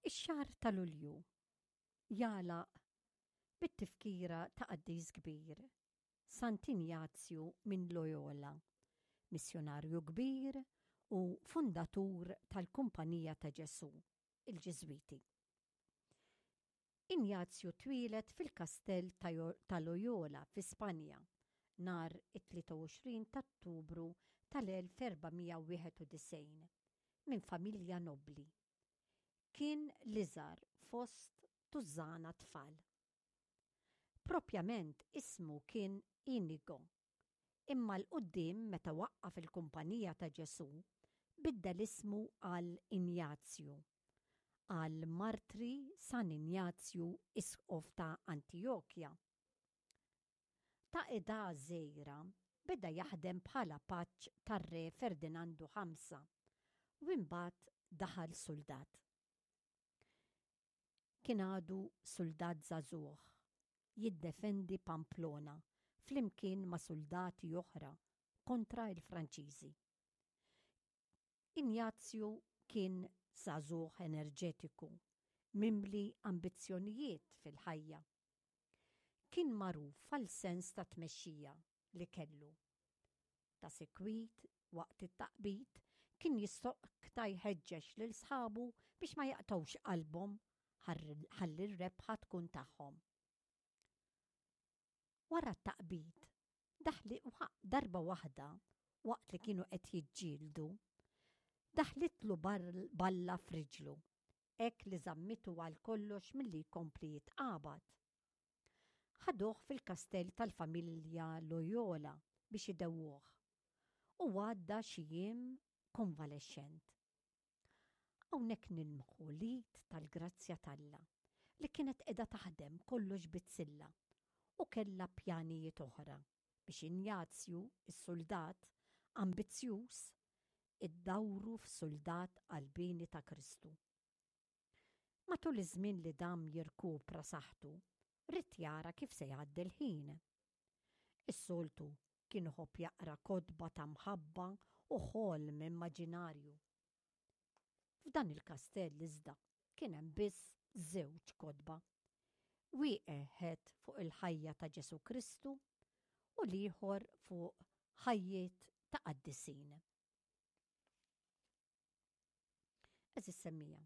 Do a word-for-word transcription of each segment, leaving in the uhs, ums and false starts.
Ix-xahar ta' Lulju jagħlaq bit-tifkira ta' qaddis kbir, Sant'Injazju minn Loyola, missjonarju kbir u fundatur tal-Kumpanija ta' Ġesù, il-Ġiżwiti. Injazju twieled fil-kastell ta' Loyola fi Spanja nhar it-tlieta u għoxrin ta' Ottubru tal-elf erba' mija wieħed u disgħin minn familja nobbli. Kien l-iżgħar fost tużżana tfal. Propjament ismu kien Inigo, imma 'l quddiem meta waqqaf il-Kumpanija ta' Ġesù biddel ismu għal Injazju, għal martri San Injazju Isqof ta' Antijokja. Ta' età żgħira beda jaħdem bħala paġġ tar-Re Ferdinandu ħamsa u imbagħad daħal suldat. Kien għadu suldat żagħżugħ jiddefendi Pamplona flimkien ma' suldati oħra kontra l-Franċiżi. Injazju kien żagħżugħ enerġetiku, mimli ambizzjonijiet fil-ħajja. Kien magħruf għal sens ta' tmexxija li kellu. Ta' sikwit waqt it-taqbid kien jistokta jħeġġeġ lil sħabu biex ma jaqtgħux qalbhom ħalli r-rebħa tkun tagħhom. Wara t-taqbid, daħli darba waħda waqt li kienu qed jiġġieldu, daħlitlu balla f'riġlu, hekk li żammitu għal kollox milli jkompli jitqabad. Ħaduh fil-kastell tal-familja Loyola biex idewwuh u għadda xi jiem konvalexxent. Hawnhekk nilmħu l-id tal-grazzja t'Alla li kienet qiegħda taħdem kollox bizzilla u kellha pjanijiet oħra biex Injazju, is-suldat ambizzjuż, iddawru f'suldat qalbieni ta' Kristu. Matul iż-żmien li dam jirkupra saħħtu, ried jara kif se jgħaddi l-ħin. Is-soltu kien iħobb jaqra kotba ta' mħabba u ħolm immaġinarju. F'dan il-kastell iżda kien hemm biss żewġ kotba. Wieħed fuq il-ħajja ta' Ġesù Kristu u l-ieħor fuq ħajjiet ta' qaddisin. Għeżież semmija,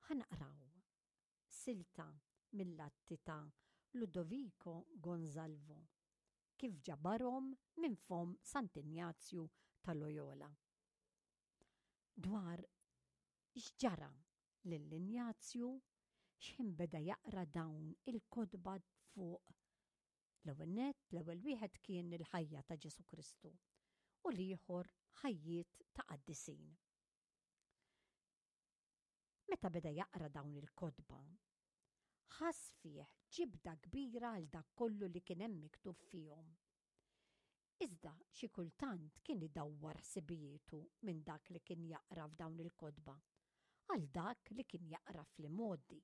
ħa naqraw silta mill-atti ta' Ludovico Gonzalvo kif ġabarhom minn fomm Sant'Injazju ta' Loyola. Dwar x'ġara lil Injazju x'ħin beda jaqra dawn il-kotba fuq l-ewwel nett, l-ewwel wieħed kien il-ħajja ta' Ġesù Kristu u l-ieħor ħajjiet ta' qaddisin. Meta beda jaqra dawn il-kotba, ħass fih ġibda kbira għal dak kollu li kien hemm miktub fihom. Iżda xi kultant kien idawwar ħsibijietu minn dak li kien jaqra f'dawn il-kotba għal dak li kien jaqra fl-imgħoddi.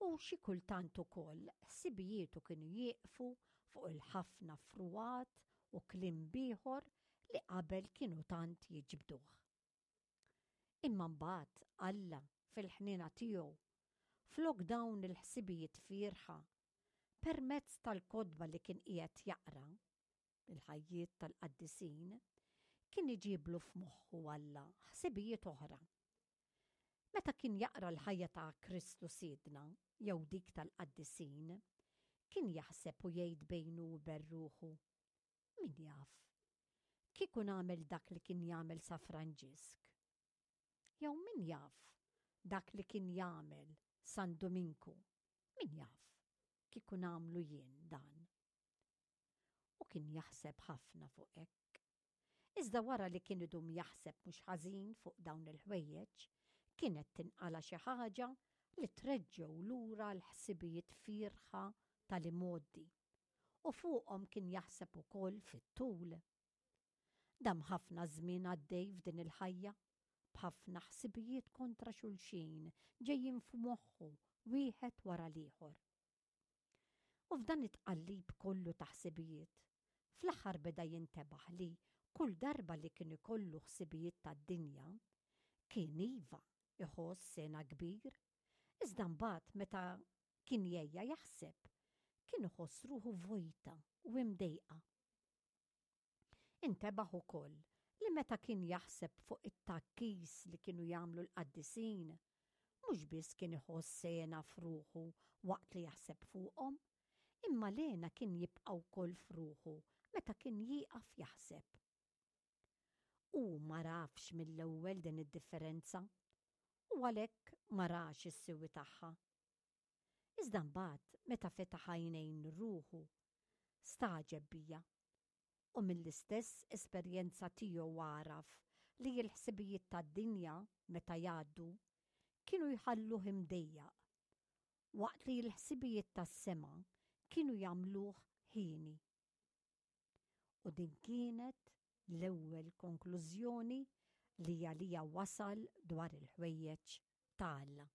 U xi kultant ukoll ħsibijietu kienu jieqfu fuq il-ħafna frugħat u kliem bieħor li qabel kienu tant jiġbduh. Imma mbagħad Alla fil-ħniena tiegħu flok dawn il-ħsibijiet fierħa permezz tal-kotba li kien qiegħed jaqra, il-ħajjiet tal-qaddisin, kien iġiblu f'moħħu Alla ħsibijiet oħra. Meta kien jaqra l-ħajja ta' Kristu Sidna jew dik tal-qaddisin, kien jaħseb u jgħid bejnu u bejn ruħu, min jaf, kieku nagħmel dak li kien jagħmel Sa Franġisk. Jew min jaf dak li kien jagħmel San Duminku, min jaf kieku nagħmlu jien dan. U kien jaħseb ħafna fuq hekk. Iżda wara li kien idum jaħseb mhux ħażin fuq dawn il-ħwejjeġ, kienet tinqala xi ħaġa li treġġew lura l-ħsibijiet fierħa tal-imgħoddi, u fuqhom kien jaħseb ukoll fit-tul. Dam ħafna żmien għaddej f'din il-ħajja, b'ħafna ħsibijiet kontra xulxin ġejjin f'moħħu wieħed wara l-ieħor. U f'dan it-tqallib kollu ta' ħsibijiet, fl-aħħar beda jintebaħ li kull darba li kien ikollu ħsibijiet tad-dinja, kien iva iħoss hena kbir, iżda mbagħad meta kien jgħejja jaħseb, kien iħoss ruħu vojta u imdejqa. Intebaħ ukoll li meta kien jaħseb fuq it-tgħakkis li kienu jagħmlu l-qaddisin, mhux biss kien iħoss hena f'ruħu waqt li jaħseb fuqhom, imma l-hena kien jibqa' wkoll f'ruħu meta kien jieqaf jaħseb. Hu m'għarafx mill-ewwel din id-differenza u għalhekk ma rax is-siwi tagħha. Iżda mbagħad meta fetaħ għajnejn ruħu, stagħġeb biha u mill-istess esperjenza tiegħu għaraf li l-ħsibijiet tad-dinja meta jgħaddu kienu jħalluh imdejjaq, waqt li l-ħsibijiet tas-sema kienu jagħmluh hieni. U din kienet l-ewwel konklużjoni li għaliha wasal dwar il-ħwejjeġ ta' Alla.